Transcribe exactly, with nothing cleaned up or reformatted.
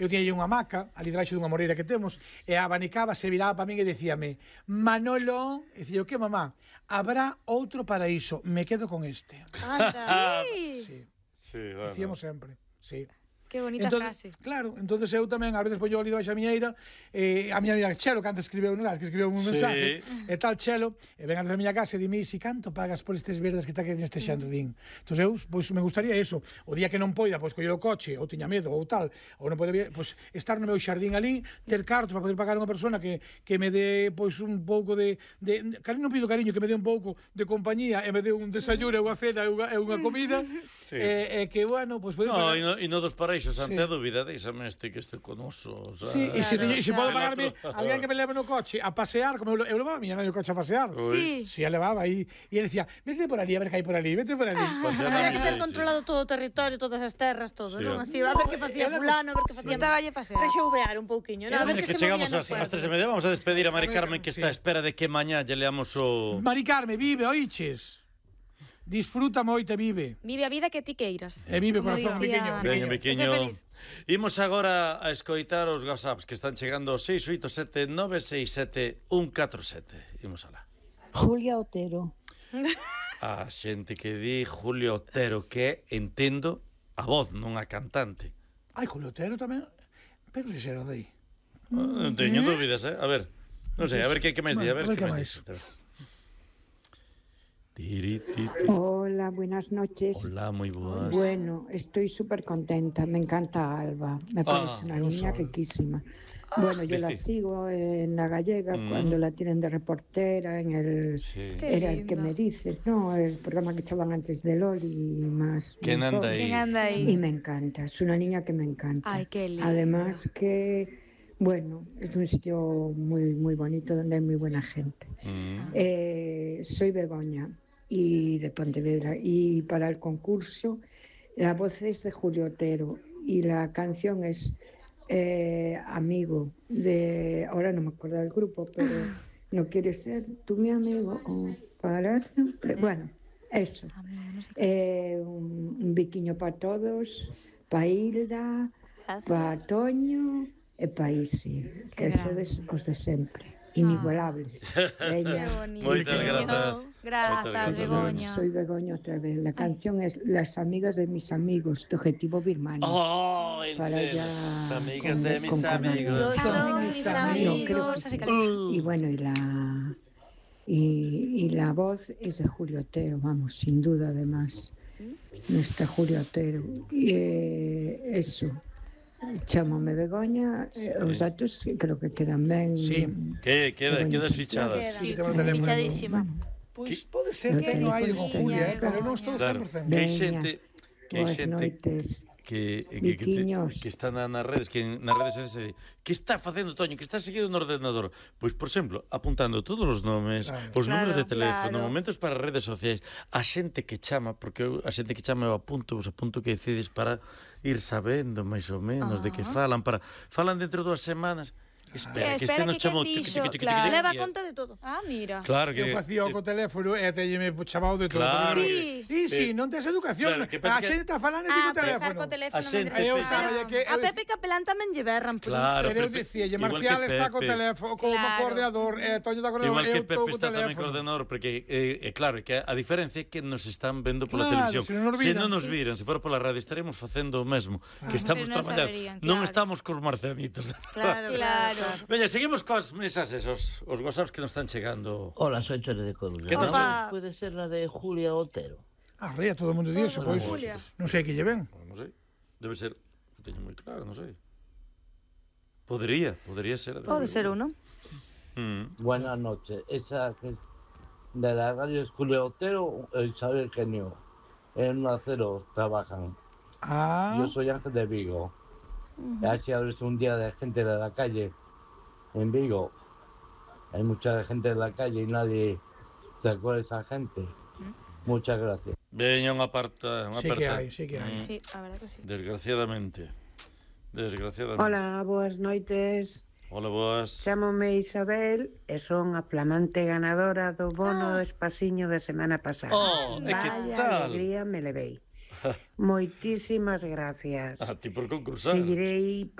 eu tiña unha hamaca ali debaixo dunha moreira que temos, e a abanicaba, se viraba para min e dicíame: Manolo, e dicía, o que, mamá? Habrá outro paraíso, me quedo con este. Anda, Sí, Sí, bueno. dicíamos sempre, sí. que bonita Entonces, frase. claro, entonces eu tamén ás veces poño ali debaixo a miñeira, eh, a miña amiga Chelo, que antes escribeu, non, que escribeu un Sí. mensaje, e tal Chelo, e ven antes a miña casa e dime, si canto pagas por estes verdes que está aquí neste xardín? Entón eu, pois, me gustaría eso, o día que non poida, pois, coller o coche, ou tiña medo, ou tal, ou non pode, pois, estar no meu xardín ali, ter cartos para poder pagar a unha persona que, que me dé, pois, un pouco de, de, cariño, non pido cariño, que me dé un pouco de compañía, e me dé un desayuno, e unha cena, e unha, e unha comida, Sí. e, e que, bueno, pois, poder No, pagar... e no, e no dos paraísos, ante Sí. a dúbida, deixame este que este conoso. O sea, Sí, e se, Claro, se claro. podo pagarme alguén que me leve no coche a pasear, como eu, eu levaba a miña nai no coche a pasear. Sí. Si, a levaba aí, e ele decía, vete por ali, a ver que hai por ali, vete por ali. Pasear na Había que ter vida, controlado todo o territorio, todas as terras, todo, Sí, non? home. Así, a ver que facía era- fulano, a ver que facía... Gustaba lle pasear. Rexouvear un pouquiño, non? A ver Oye, que, que se chegamos movía no ás, ás pueblo. tres e media, vamos a despedir a Mari Mari Carmen, Carmen, que está a sí. espera de que mañá lle leamos o... Mari Carmen, vive, oiches. Disfruta moito e vive. Vive a vida que ti queiras. E vive, Como corazón, dicía pequeño. Ana. Veña, pequeño. Ese pequeño. feliz. Imos agora a escoitar os WhatsApps que están chegando ao seis oito sete nove seis sete un catro sete. Imos alá. Julia Otero. A xente que di Julio Otero, que entendo a voz, non a cantante. Ai, Julio Otero tamén. Pero se será de aí. Non teño dúbidas, eh? A ver, non sei, a ver que, que máis di, a ver Bueno, que a ver máis que di. Tiri, ti, ti. Hola, buenas noches. Hola, moi boas. Bueno, estoy súper contenta. Me encanta Alba. Me parece Ah, una un niña sol. riquísima. Bueno, yo la ¿viste? sigo en La Gallega Mm. cuando la tienen de reportera en el... Sí. Qué Era el que linda. me dices, ¿no? El programa que echaban antes de Loli y más. ¿Quién más anda joven. ahí? ¿Quién anda Y aí? me encanta. Es una niña que me encanta. Ay, qué linda. Además que, bueno, es un sitio muy, muy bonito donde hay muy buena gente. Mm. Eh, soy Begoña y de Pontevedra, y para el concurso la voz es de Julio Otero y la canción es eh, Amigo, de, ahora no me acuerdo del grupo, pero no quieres ser tú mi amigo o para siempre, bueno, eso. Amigo, non sei que- Eh, un, un biquiño para todos, para Hilda, para Toño e para Isi, que Qué sodes os de sempre, inigualables. Qué Veña. bonito. Moitas grazas. Grazas, Moitas grazas. Begoña. Soy Begoña otra vez. La canción es Las amigas de mis amigos, de Objetivo Birmania. Oh, Para entiendo. ya Las amigas con- de mis con amigos. Cornelio. Son mis No, creo amigos. que Así sí. que- Y bueno, y la y, y la voz es de Julio Otero, vamos, sin duda además. Nuestra Julio Otero. Y eh, eso. Chámame Begoña, eh, os datos creo que quedan ben. Sí. Que queda, Begoña, quedas sí. fichadas. Queda. Sí, temos teléfono. Fichadísima. Pois pode ser Eu que teño no hai con con esta Julia, niña, eh, pero non estou Claro, cen por cento. que hai Veña. xente que hai Boas xente noites. que, que, que, te- Viquiños. que está na, nas redes, que nas redes sociais, que está facendo Toño, que está seguido no ordenador. Pois, por exemplo, apuntando todos os nomes, Claro. os números de Claro, teléfono, claro. momentos para as redes sociais, a xente que chama, porque eu, a xente que chama eu apunto, vos apunto que decides para ir sabendo máis ou menos de que falan, para falan dentro de dúas semanas. Espera, Eh, que este espera, nos que chamou. que tiqui, fixo, tiqui, tiqui, claro. tiqui, Leva tiqui, conta de todo. Ah, mira. Claro que Eu facía o co teléfono e teñeme chamado de todo. Claro. Sí. E si, non tes educación. Claro, que pasa A que- xente está falando de Ah, co pensar teléfono. co teléfono. A xente non Eu este- estaba despertaba. que A Pepe Capelán tamén lle berran por Claro, Pero eu Pepe- dicía, igual Marcial que está co Pepe. teléfono, como Claro. coordenador, eh, Toño está co Igual coordenador, que eu Pepe estou co está tamén teléfono. coordenador, porque, eh, eh, claro, que a diferencia é que nos están vendo pola Claro, televisión. se non nos Se viran. non nos viran, se fora pola radio, estaremos facendo o mesmo, que estamos Pero non traballando. saberían, Non claro. estamos cos marcianitos. Claro, Claro. Veña, seguimos cos mensaxes, os, os WhatsApps que nos están chegando. Hola, soy Chore de Coruña. ¿Qué tal, No sé, Chore? Puede ser la de Julia Otero. Ah, ría, todo o mundo di eso, pois. Julia. Non sei que lle ven. Non sei, debe ser, non teño moi claro, non sei. Podría, podría ser. a de Pode Julia. ser uno. Mm. Buenas noches. Esa que de la radio es Julia Otero e Isabel Genio. En un acero trabajan. Ah, Yo soy Ángel de Vigo. Y así abres un día de gente de la calle en Vigo. Hay mucha gente en la calle y nadie se acuerda de esa gente. Muchas gracias. Veña unha aparta, unha sí que aparta. hai, sí que hai. Mm. Sí, a verdad que sí. Desgraciadamente. Desgraciadamente. Hola, boas noites. Hola, boas. Chámome Isabel e son a flamante ganadora do bono do espaciño da semana pasada. Oh, e que Vaya tal? alegría me levei. Moitísimas gracias. A ti por concursar. Seguirei participando